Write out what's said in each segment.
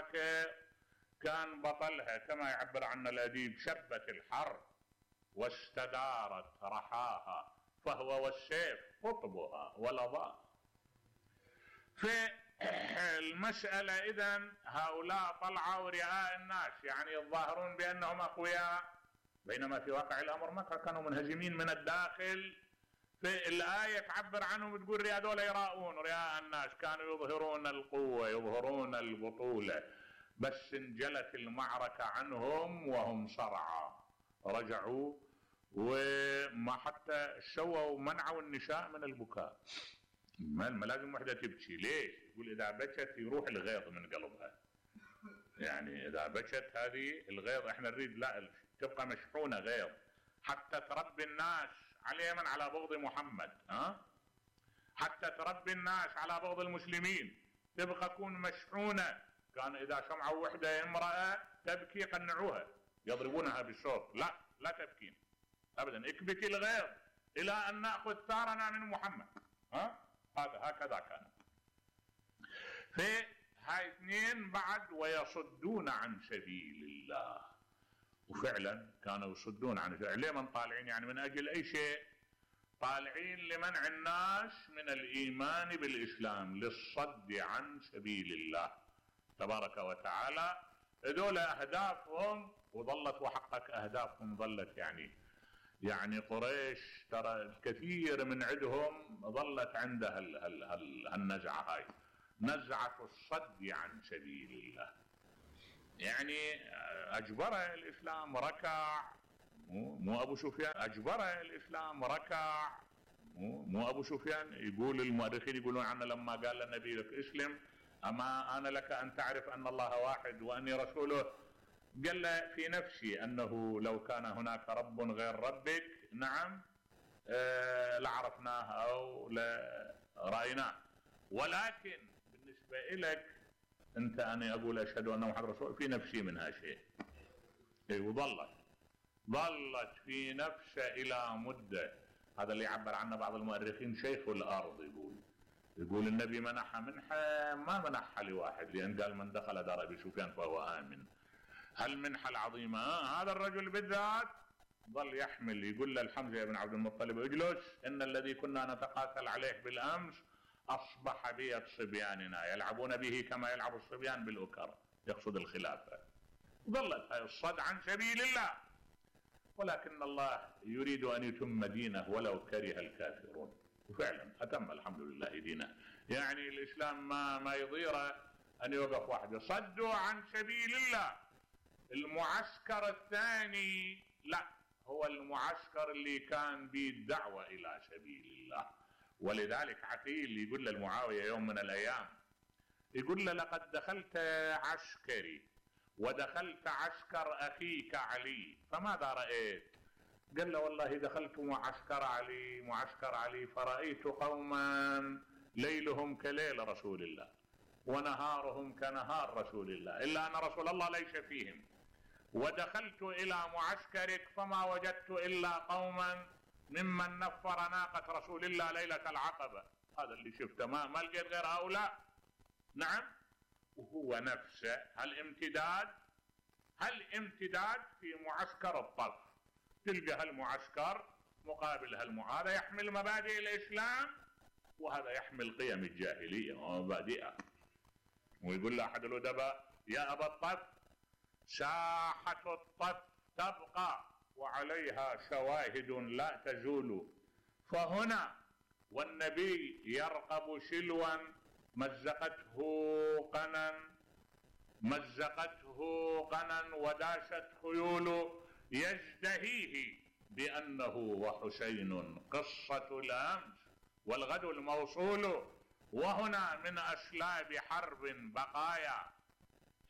المعركة كان بطلها كما يعبر عنه الأديب: شبت الحرب واستدارت رحاها فهو والسيف قطبها ولظاها. في المسألة إذن هؤلاء طلعوا رئاء الناس، يعني يظاهرون بأنهم أقوياء، بينما في واقع الأمر ما كانوا منهزمين من الداخل. في الآية تعبر عنهم تقول هذول يراؤون رئاء الناس، كانوا يظهرون القوة يظهرون البطولة، بس انجلت المعركة عنهم وهم صرعى، رجعوا وما حتى شووا منعوا النساء من البكاء. ما لازم وحدة تبكي، ليش؟ يقول إذا بكت يروح الغيظ من قلبها، يعني إذا بكت هذه الغيظ احنا نريد لا تبقى مشحونة غيظ حتى تربي الناس على من على بغض محمد، حتى تربي الناس على بغض المسلمين، تبقى تكون مشحونة. كان إذا سمعوا وحدة امرأة تبكي قنعوها يضربونها بالصوت، لا تبكين أبدا، اكبتي الغيظ إلى أن نأخذ ثارنا من محمد. هكذا كان. في هاي اثنين بعد: ويصدون عن سبيل الله. وفعلا كانوا يصدون عن سبيل الله. ليه من طالعين؟ يعني من أجل أي شيء؟ طالعين لمنع الناس من الإيمان بالإسلام، للصد عن سبيل الله تبارك وتعالى. هذول أهدافهم وظلت وحقق أهدافهم، ظلت يعني قريش ترى الكثير من عندهم ظلت عندها النزعة هاي، نزعة الصد عن سبيل الله. يعني أجبره الإسلام ركع، مو أبو سفيان، أجبره الإسلام ركع، مو أبو سفيان. يقول المؤرخين يقولون عنه لما قال للنبي لك اسلم أما أنا لك أن تعرف أن الله واحد وأني رسوله، قال له في نفسي أنه لو كان هناك رب غير ربك نعم لعرفناه أو لرأيناه، ولكن بالنسبة إليك أنت أنا أقول أشهد أن محمد رسول في نفسي منها شيء. وظلت في نفسه إلى مدة. هذا اللي يعبر عنه بعض المؤرخين شيخ الأرض. يقول النبي منح منحة ما منحها لواحد، لأن قال من دخل دار أبي سفيان فهو آمن. هالمنحة العظيمة هذا الرجل بالذات ظل يحمل. يقول للحمزة بن عبد المطلب: اجلس إن الذي كنا نتقاتل عليه بالأمس أصبح بيد صبياننا يلعبون به كما يلعب الصبيان بالأكر، يقصد الخلافة. ظلت هاي الصد عن سبيل الله، ولكن الله يريد أن يتم دينه ولو كره الكافرون، وفعلا أتم الحمد لله دينه. يعني الإسلام ما يضيره أن يوقف وحده. صدوا عن سبيل الله. المعسكر الثاني لا، هو المعسكر اللي كان به الدعوة إلى سبيل الله. ولذلك عقيل يقول للمعاوية يوم من الأيام، يقول له: لقد دخلت عسكري ودخلت عسكر أخيك علي فماذا رأيت؟ قال له: والله دخلت معسكر علي فرأيت قوما ليلهم كليل رسول الله ونهارهم كنهار رسول الله، إلا أن رسول الله ليس فيهم. ودخلت إلى معسكرك فما وجدت إلا قوما ممن نفر ناقة رسول الله ليلة العقبة. هذا اللي شفته، ما لقيت غير هؤلاء. نعم. وهو نفسه هالامتداد في معسكر الطرف. تلقى هالمعسكر مقابل هذا يحمل مبادئ الإسلام وهذا يحمل قيم الجاهلية ومبادئها. ويقول له أحد الأدباء: يا أبا الطف ساحة الطف تبقى وعليها شواهد لا تزول، فهنا والنبي يرقب شلوا مزقته قنا وداشت خيول، يزدهيه بأنه وحسين قصة الأمس والغد الموصول، وهنا من أسلاب حرب بقايا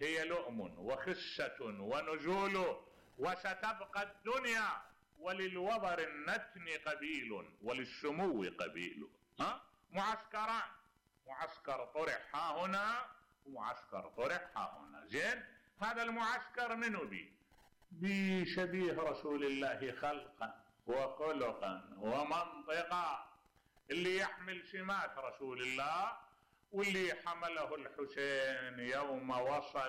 هي لؤم وخسة ونزول، وستبقى الدنيا وللوبر النتن قبيل وللسمو قبيل. معسكران، معسكر طرح ها هنا ومعسكر طرح ها هنا. زين، هذا المعسكر منو بشبيه رسول الله خلقا وخلقا ومنطقا، اللي يحمل سمات رسول الله واللي حمله الحسين يوم وصل